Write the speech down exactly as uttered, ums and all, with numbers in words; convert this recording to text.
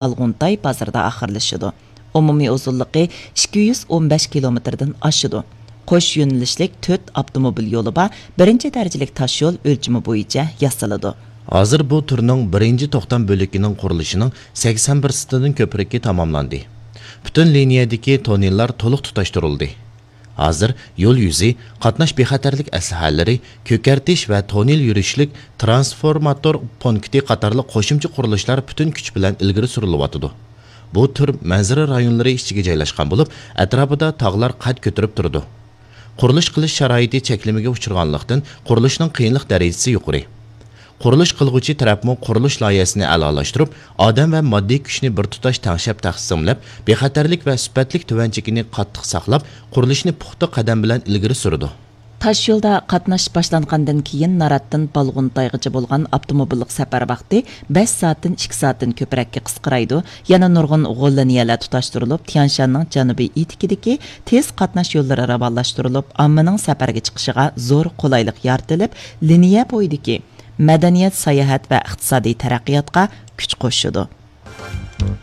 بالغۇنتاي بازىرىدا ئاخىرلىشىدۇ. ئومۇمىي ئۇزۇنلۇقى ئىككى يۈز ئون بەش كىلومېتىردىن ئاشىدۇ. قوش يۆنىلىشلىك تۆت ئاپتوموبىل يولى بار، بىرىنچى دەرىجىلىك تاشيول ئۆلچىمى بويىچە ياسىلىدۇ. ھازىر بۇ تۈرنىڭ بىرىنچى توختام بۆلىكىنىڭ قۇرۇلۇشىنىڭ سەكسەن پىرسەنتىدىن كۆپرىكى تاماملاندى. پۈتۈن لىنىيەدىكى توننېللار تولۇق تۇتاشتۇرۇلدى. ھازىر يول يۈزى، قاتناش بىخەتەرلىك ئەسلىھەلىرى، كۆكەرتىش ۋە توننېل يۈرۈشلۈك ترانسفورماتور پونكىتى قاتارلىق قوشۇمچە قۇرۇلۇشلار پۈتۈن كۈچ بىلەن ئىلگىرى سۈرۈلۈۋاتىدۇ. بۇ تۈر مەنزىرە رايونلىرى ئىچىگە جايلاشقان بولۇپ، ئەتراپىدا تاغلار قەد كۆتۈرۈپ تۇرىدۇ. قۇرۇلۇش قىلىش شارائىتى چەكلىمىگە ئۇچرىغانلىقتىن، قۇرۇلۇشنىڭ قىيىنلىق دەرىجىسى يۇقىرى. قۇرۇلۇش قىلغۇچى تەرەپمۇ قۇرۇلۇش لايىھەسىنى ئەلالاشتۇرۇپ، ئادەم ۋە ماددىي كۈچنى بىر تۇتاش تەڭشەپ تەقسىملەپ، بىخەتەرلىك ۋە سۈپەتلىك تۆۋەن چېكىنى قاتتىق ساقلاپ، قۇرۇلۇشنى پۇختا قەدەم بىلەن ئىلگىرى سۈرىدۇ. تاشيولدا قاتناش باشلانغاندىن كېيىن ناراتتىن بالغۇنتايغىچە بولغان ئاپتوموبىللىق سەپەر ۋاقتى بەش سائەتتىن ئىككى سائەتتىن كۆپرەككە قىسقىرايدۇ. يەنە نۇرغۇن غول لىنىيەلەر تۇتاشتۇرۇلۇپ، تيەنشاننىڭ جەنۇبىي ئېتىكىدىكى تېز قاتناش يوللىرى راۋانلاشتۇرۇلۇپ، ئاممىنىڭ سەپەرگە چىقىشىغا زور قولايلىق يارىتىلىپ، لىنىيە بويىدىكى مەدەنىيەت، ساياھەت ۋە ئىقتىسادىي تەرەققىياتقا كۈچ قوشىدۇ.